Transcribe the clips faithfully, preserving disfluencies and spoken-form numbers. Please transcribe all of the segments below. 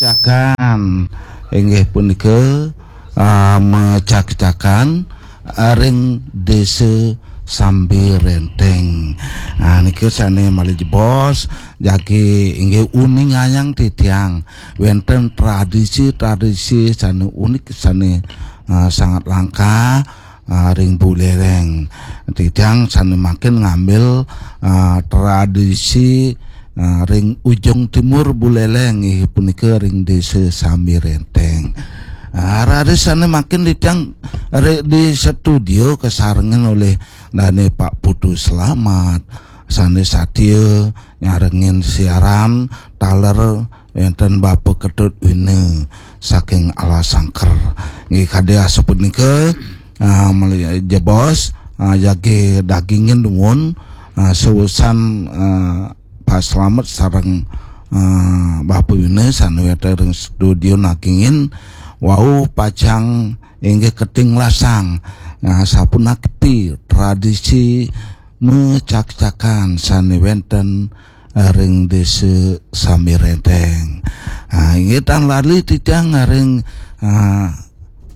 Cakan inggih punika ah, mecak-cakan ah, ring Desa Sambi Renteng. Ah, nika sane malih jebos jagi inggih uningayang titiang wenten tradisi-tradisi sane unik sane ah, sangat langka ah, ring Buleleng. Titiang sane makin ngambil ah, tradisi ah, ring ujung timur Buleleng inggih punika ring Desa Sambi Renteng. Ah, raris sane makin titiang ri- di studio kasarengan oleh dane Pak Putu Selamat sane satia nyarengin siaran taler wenten Bapa Ketut Wina saking Alasangker. Nggih kadi asapunika ah, malih jebos ah, jagi dagingin dumun ah, seusan ah, Pak Slamet sareng ah, Bapa Wina sane wenten ring studio dagingin wau pacang inggih keting lasang. Nah, sapunapi tradisi mecak-cakan sane wenten ring Desa Sambi Renteng. Ah, inggih tan lali titiang ring ah,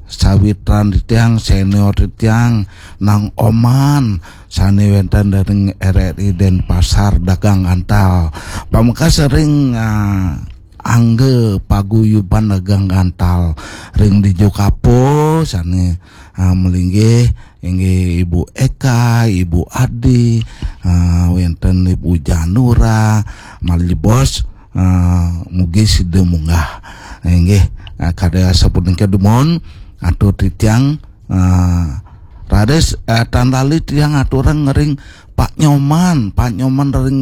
sawitran titiang senior titiang Nang Oman sane wenten ring R R I Denpasar dagang antal. Pamekas ring ah, angga paguyuban dagang antal ring dija kapo sane ah, malinggih inggih Ibu Eka, Ibu Adi, ah, wenten Ibu Janura, malih jebos ah, mugi sida munggah. Inggih ah, kadi asapunika dumun atur titiang ah, raris ah, tan lali tiang aturang ring Pak Nyoman, Pak Nyoman ring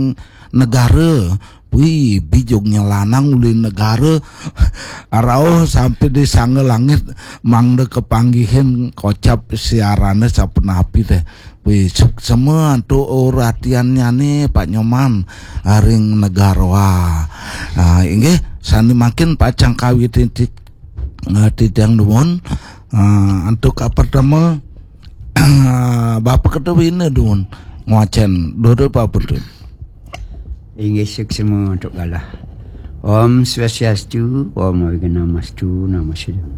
Negara. Wih, bijugnya lanang uli Negara rauh sampai di sangga langit mangda kepanggihin kocap siarane sapunapi teh. Wih, suksema antuk uratiannyane Pak Nyoman ring Negara. Ah, inggih sane makin pacang kawitin ti- ah, titiang dumun. Ah, antuk kapertama ah, Bapa Ketut Wina dumun ngwacen. Durus Bapa Ketut. Inggih suksema antuk galah. Om Swastiastu, Om Awighnamastu, Namo Siddham.